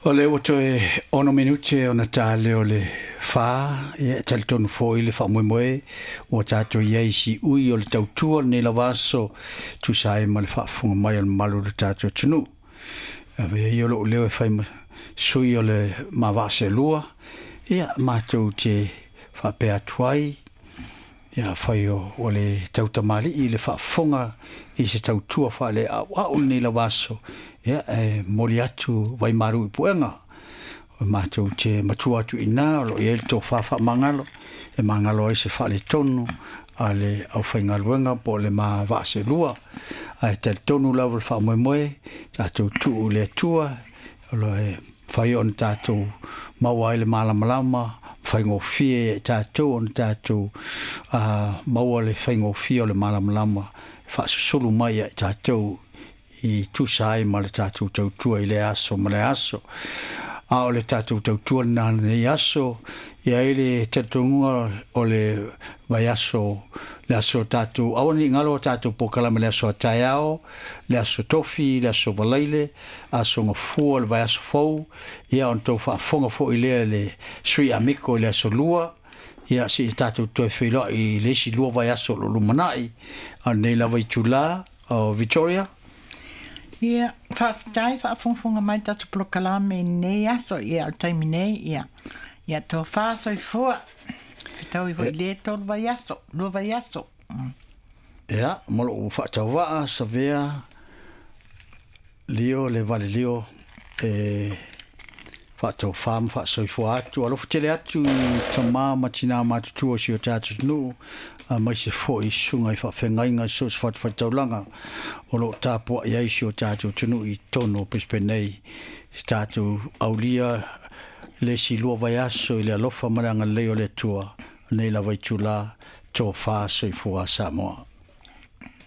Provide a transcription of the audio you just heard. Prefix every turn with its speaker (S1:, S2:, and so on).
S1: O lea ua toe 6 minute ona ta lea o le 4, ia e talitonu foi le faamoemoe ua tatou i ai i siui o le tautua lenei lava aso, tusa ai ma le faafofoga mai a le mamalu o le tatou atunuu. Avea ia lou leo e fai ma sui o le ma vaa seelua, ia matou te faapea atu ai, ia afai ua le tautamalii i le faafofoga i se tautua faaleauau lenei lava aso, ia e momoli atu vaimalu i puega. O matou te matua atu i ina, o lo o i ai le tofa faamagalo, e magalo ai se faaletonu a le aufaigaluega po o le ma vaa seelua. Ae talitonu lava le faamoemoe, tatou tuu i le Atua, o lo o mafai ona tatou maua ai le malamalama, faigofie ia i tatou ona tatou maua le faigofie o le malamalama faasusulu mai ia i tatou i tusa ai ma le tatou tautua i lea aso ma lea aso. A o le tatou tautua lena lenei aso, e i ai le talitonuga o le vaiaso, le aso tatou, aua ne i galo a tatou polokalame le aso a taeao, le aso tofi, le aso Valaile, aso Gafua, le vaiaso fou, ia ona tou faafofoga foi lea i le Sui Amiko i le aso Lua, ia seia tatou toe feiloai i le isi 2 vaiaso o lo o lumanai, a o lenei lava itula o Victoria.
S2: Ia, faafetai faafogafoga mai tatou polokalame i lenei aso, ia o le taimi nei, ia, ia tofa soifua, fetaui foi i le 3 vaiaso, 2 vaiaso.
S1: Ia, ma lou faatauvaa, Savea, Lio, le vale lio, e faataufa ma faasoifua atu. Alofa tele atu i tama ma tina matutua o si o tatou atunuu, aemaise foi i susuga i faafeagaiga i so o se fatafaitaulaga o lo o tapuai ai si o tatou atunuu i totonu o Brisbane nei. Si tatou aulia le isi 2 vaiaso i le alofa ma le agalelei o le Atua, nei lava itula, tofa soifua Samoa.